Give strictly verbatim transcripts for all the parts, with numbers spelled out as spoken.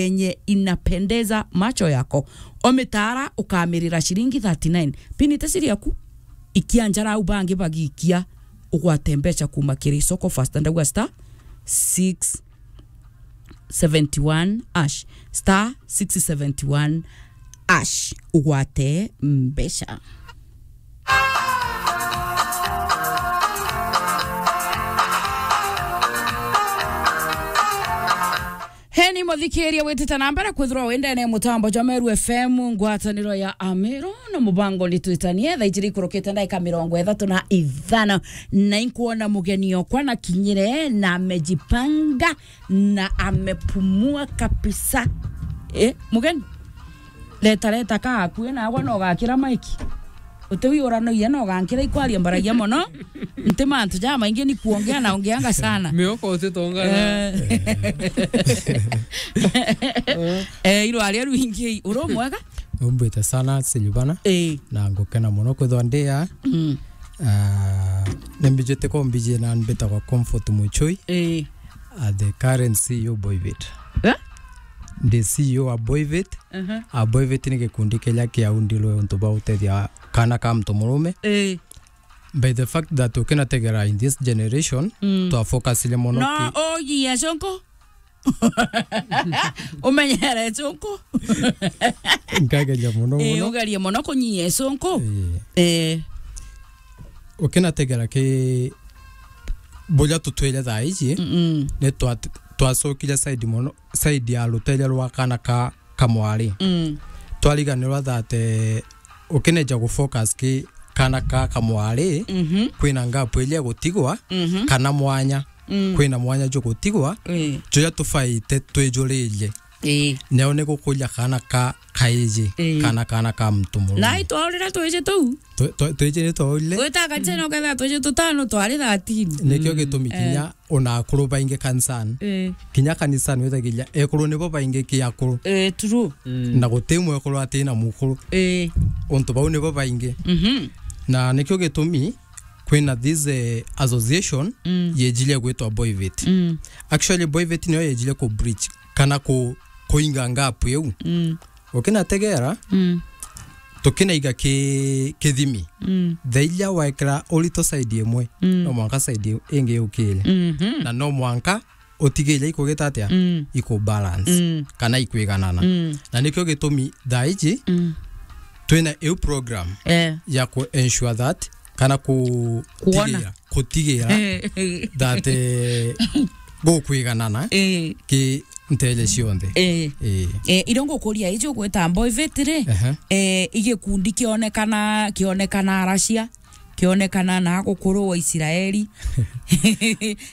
yenye inapendeza macho yako. O mitaara ukamirira ciringi thirty-nine. Pini ti ciri yaku. Ikia njara au bangi bagikia, ugwate mbeca kuma kiri soko fast. Ndauga star six seventy one hash. Star six seventy one hash. Ugwate mbeca. Heni muthikiria witite na mbere kwithirwa wi ndene ya mutambo jwa Meru F M, ngwataniro ya Ameru na mubango ni twitanie. Thaa ijiri ikurukite ndaika mirongo ithatu na ithano, na inkwona mugeni okwa na kinyire na amejipanga na amepumua kabisa. Eh, mugeni? Leta, leta ka akue, nagwa no gakira maiki. Uti wi uranoia no gankira ikwaria mbaragia mono. Nti mantu ja maingi ni kuongea na ongeanga sana. Mioko utitongana. Eh. Eh, irwaria rwingi, uri mwega? Umbite sana, Silvana. Eh. Na ngukena mono kwithwa ndi aa. Mm. Ah, ni mbijite ko mbiji na mbitagwa Comfort Muchui. Eh. Ah, the current C E O Boivit. Eh? Ndi C E O wa Boivit. Mhm. A Boivit ni gikundi kiria kiaundilwe untu bwa gutethia kana ka muntu murume. Eh. By the fact that ukinategera in this generation, mm, twafocusire mono. No, ki- oji ya sonko. Umenyere sonko. Nkageria mono. Eh, mono. Ugerie mono kunyia sonko. Eh. Eh. Ukinategera ki buria tutwire thaa iji, mm-mm, ni twa-, twacokire side mono, side ya ruteria rwa kana ka kamwari. Mm. Twariganirwa that, eh, ukineja gufocus ki kana ka kamwari, mhm, kwina ngapu iria gutigwa, mhm, kana mwanya. Mm. Kwina mwanya jwa gutigwa, eh, juria tubaite twijuririe. Eh. Neo ni gukuria kana ka kaiji, eh, kana, kana ka muntu murume. Na itwaurire twiji tuu? Twi-, twi-, twiji ni twaurire. Gwita kanisa no ketha twiji tutano twari thirteen. Nikio, mm, gitumi, eh, kinya ona akuru baingi kanisani. Eh. Kinya kanisani withagiria ekuru nibo baingi ki akuru. Eh, true. Mm. Na guti mwekuru ati na mukuru. Eh. Untu bau nibo baingi. Mhm. Na nikio gitumi kwina this, eh, association, mm, yejire gwitwa Boivit. Mm. Actually, Boivit niyo yejire ku bridge kana ku-, kuinga gap iu. Mm. Ukinategera, mm, tukinaiga ki-, kithimi. Mm. Thaa iria wekira urito side imwe, mm, no mwanka side ingi yukire. Mhm. Na no mwanka utigire ikugita atia? Mm. Iku balance. Mm. Kana ikwiganana. Mm. Na nikio gitumi thaa iji, mm, twina iu program, eh, ya ku ensure that kana ku-, kuona, kutigira, kutigira that, eh, gukwiganana, eh, ki nteere cionthe. Eh. Eh. Eh, irio ngukuria iji ugwita Boivit ri, ehe, eh, igikundi kionekana, kionekana Russia, kionekana na gukuru wa Israeli,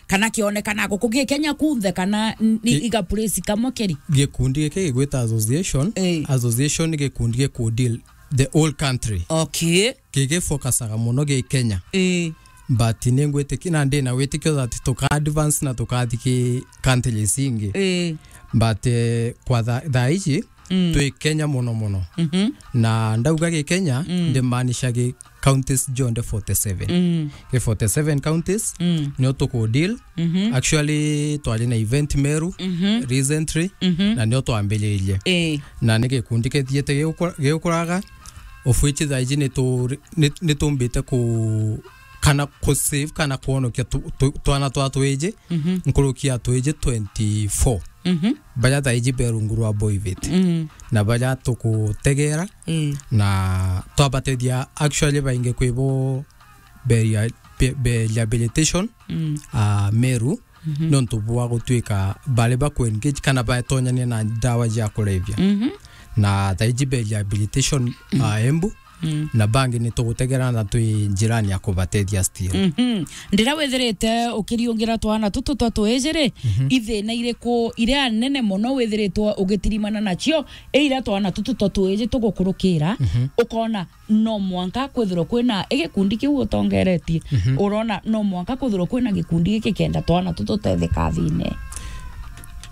kana kionekana guku gi Kenya kunthe, kana n-, ni, i-, iga place kamwe keri? Gikundi giki gigwita association. Eh. Association ni gikundi giku deal the whole country. Okay. Gigifocusaga mono gi Kenya. Eh. But ningwitikia na ndina witikio that tuka advance na tukathi ki countries ingi. Eh. But, eh, kwa tha-, thaa iji, mm, twi Kenya mono mono. Mhm. Na ndauga gi Kenya, mm, ndimaanisha gi counties jonthe forty seven. Mm. Gi forty seven counties, mm, nio tuku deal. Mhm. Actually, twari na event Meru, mhm, recently, mhm, na nio twambiririe. Eh. Na ni gikundi kithiite gigukura-, gigukuraga, of which thaa iji ni tu-, ni, ni tumbite ku-, kana ku save kana kwonokia tu-, tu-, twana twa twiji, mhm, nkuruki ya twiji twenty four. Mhm. Baria thaa iji be rungu rwa Boivit. Mm. Na baria tukutegera, mm, na twabatethia actually baingi kwi bo be rea-, be, be rehabilitation, mm, ah, Meru, mhm, nontu bwa gutuika bari baku engage kana batonyania na ndawa cia kulevya. Mhm. Na thaa iji be rehabilitation, mm, ah, Embu, mm, na bangi ni tugutegera na twi njirani ya kubatethia still. Mhm. Ndira withirite ukiriungira twana tutu twa twiji ri, mhm, ithina iriku iria nene mono withiritwe ugitirimana nacio, iria twana tutu twa twiji tugukurukira, mhm, ukona no mwanka kwithirwa kwina igikundi kiu utongeretie. Mhm. Urona no mwanka kwithirwa kwina gikundi giki kenda twana tu tutetheka thine.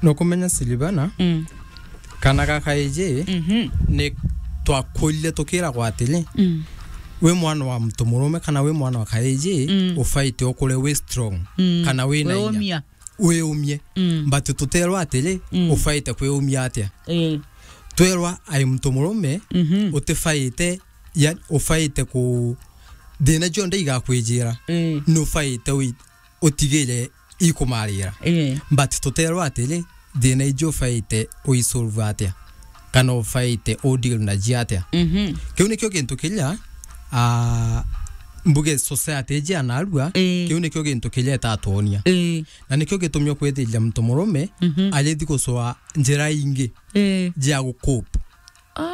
Nukumenya Silvana, mm, kana ga kaiji, mhm, ni twakurire tukiragwa atiri, mm, wi mwana wa muntu murume kana wi mwana wa kaiji, mm, ubaite ukure wi strong, mm, kana wi na inya. Wi umia. wiumie. Mm. But tuterwa atiri, mm, ufaite kwiumia atia. Eh. Twerwa ai muntu murume, mhm, utifaite, ya, ufaite ku, thina cionthe igakwijira, eh, nufaite ui-, utigire ikumarira. Eh. But tuterwa atiri, thina iji ufaite uisolve atia, kana ufaite udeal na ji atia. Mhm. Kiu nikio gintu kiria, ah, mbuge society iji ya narua, eh, kiu nikio gintu kiria itatuonia. Eh. Na nikio gitumi ukwithiria muntu murume, mhm, arithi gucwa njira ingi, eh, jia gucope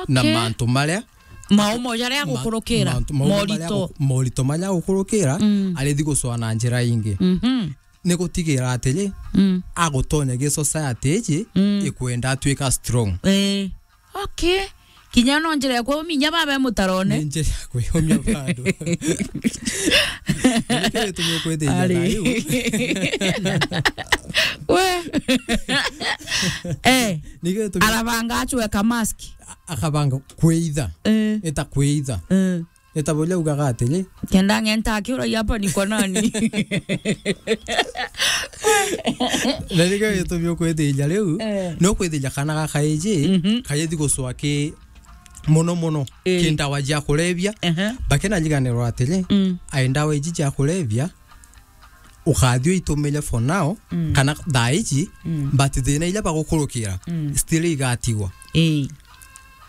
na, okay, mantu maria, maumo jaria ma-, gukurukira, mantu, maumo maria morito, gu-, morito maria gukurukira, mm, arithi gucwa na njira ingi. Mhm. Ni gutigira atiri, mm, agutonya gi society iji, mm, ikwenda atwika strong. Eh. Okay. Kinya no njira ya kwiuminya babe mutarone. Ni njira ya kwiumia bado. Na nikio gitumi ukwithiria, ari, thayu. We. Eh. Nikio gitumi arabanga acweka mask. A-, akabanga kwitha. Eh. Eta kwitha. Eh. Eta buria ugaga atiri, kenda ng'enta akiuragia hapa ni kwa nani? Na nikio gitumi ukwithiria riu, eh, no kwithiria kana gaka iji, mhm, kayithi gucwa ki mono mono, eh, ki ndawa jia kulevya. Ehe. Bakena njiganirwa atiri, mm, ai ndawa iji jia kulevya, ukathio itumire for now, mm, kana thaa iji, mm, but thina iria bagukurukira, mm, still igatigwa. Ii.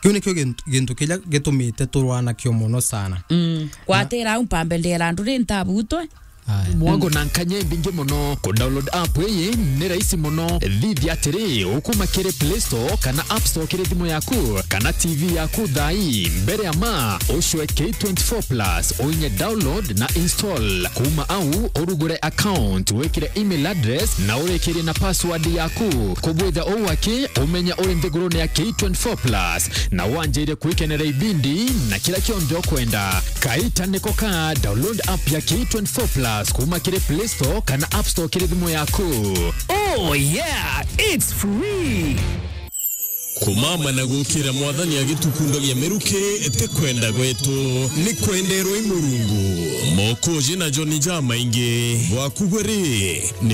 Kiu nikio gintu, gintu kiria gitumite turwanakio mono sana. Mm. Na kwatira au mpambe ndera andu ri ntabutwe. Aya. Mwago na nkanya imbingi mono. Ku download app iyi ni rahisi mono. Thithia atiri, ukuma kiri Play Store kana App Store kiri thimu yaku kana T V yaku thaa ii. Mbere ya ma, ucwe K twenty-four plus, uinye download na install. Kuma au, urugure account, wikire email address na urikirie na password yaku. Kubwitha uu aki, umenya uri nthigurune ya K twenty-four plus na wanjirie kwikenera ibindi na kira kionthe ukwenda. Kaita niko ka, download app ya K twenty-four plus kuma kiri Play Store kana App Store kiri thimu yaku. Oh yeah, it's free. Kumama na gukira Mwathani agitukundagia miruki ti kwenda gwetu, ni kwenderwa i Murungu. Mokoji na John jamaingi bwakugwe ri.